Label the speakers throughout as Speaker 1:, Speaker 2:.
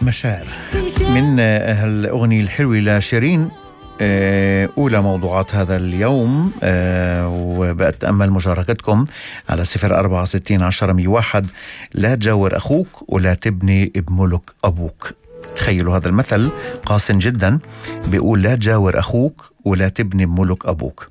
Speaker 1: مشاعر من هالأغنية الحلوة لشيرين. أولى موضوعات هذا اليوم، وبأتأمل مشاركتكم على 04601001. لا تجاور أخوك ولا تبني بملك أبوك. تخيلوا هذا المثل قاسم جدا، بيقول لا تجاور أخوك ولا تبني بملك أبوك.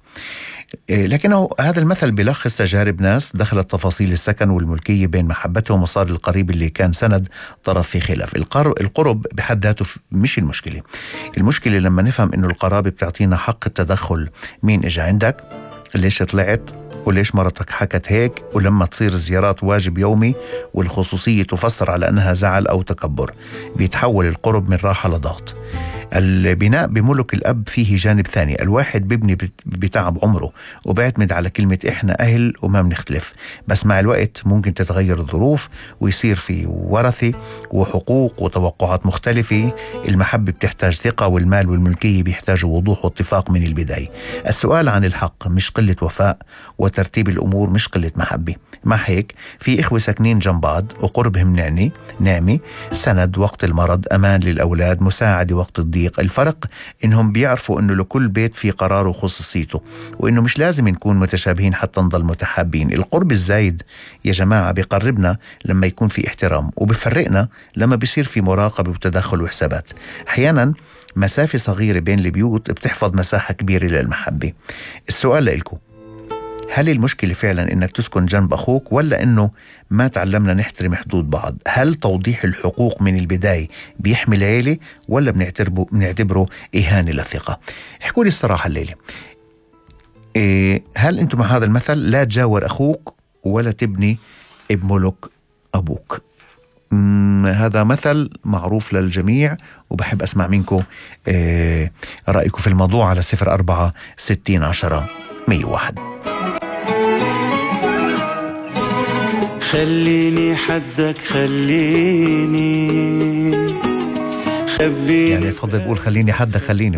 Speaker 1: لكنه هذا المثل بيلخص تجارب ناس دخلت تفاصيل السكن والملكية بين محبتهم وصار القريب اللي كان سند طرف في خلاف. القرب بحد ذاته مش المشكلة. المشكلة لما نفهم إنه القرابة بتعطينا حق التدخل. مين إجا عندك؟ ليش طلعت؟ وليش مرتك حكت هيك؟ ولما تصير الزيارات واجب يومي والخصوصية تفسر على أنها زعل أو تكبر، بيتحول القرب من راحة لضغط. البناء بملك الأب فيه جانب ثاني. الواحد بيبني بتعب عمره وبيعتمد على كلمة إحنا أهل وما بنختلف، بس مع الوقت ممكن تتغير الظروف ويصير في ورثة وحقوق وتوقعات مختلفة. المحبة بتحتاج ثقة، والمال والملكية بيحتاجوا وضوح واتفاق من البداية. السؤال عن الحق مش قلة وفاء، وترتيب الأمور مش قلة محبة. مع هيك في إخوة ساكنين جنب بعض وقربهم نعمة، سند وقت المرض، أمان للأولاد، مساعدة وقت الضيق. الفرق إنهم بيعرفوا إنه لكل بيت في قراره وخصوصيته، وإنه مش لازم نكون متشابهين حتى نضل متحابين. القرب الزايد يا جماعة بيقربنا لما يكون في احترام، وبيفرقنا لما بيصير في مراقبة وتدخل وحسابات. أحيانا مسافة صغيرة بين البيوت بتحفظ مساحة كبيرة للمحبة. السؤال لإلكم، هل المشكلة فعلا إنك تسكن جنب أخوك، ولا إنه ما تعلمنا نحترم حدود بعض؟ هل توضيح الحقوق من البداية بيحمي العيلة، ولا بنعتبره إهانة للثقة؟ احكوا لي الصراحة الليلة. هل أنتم مع هذا المثل لا تجاور أخوك ولا تبني بملك أبوك؟ هذا مثل معروف للجميع، وبحب أسمع منكم رأيكم في الموضوع على 04601001.
Speaker 2: خليني حدك، خليني خبيني.
Speaker 1: يعني الفضل بقول خليني حدك، خليني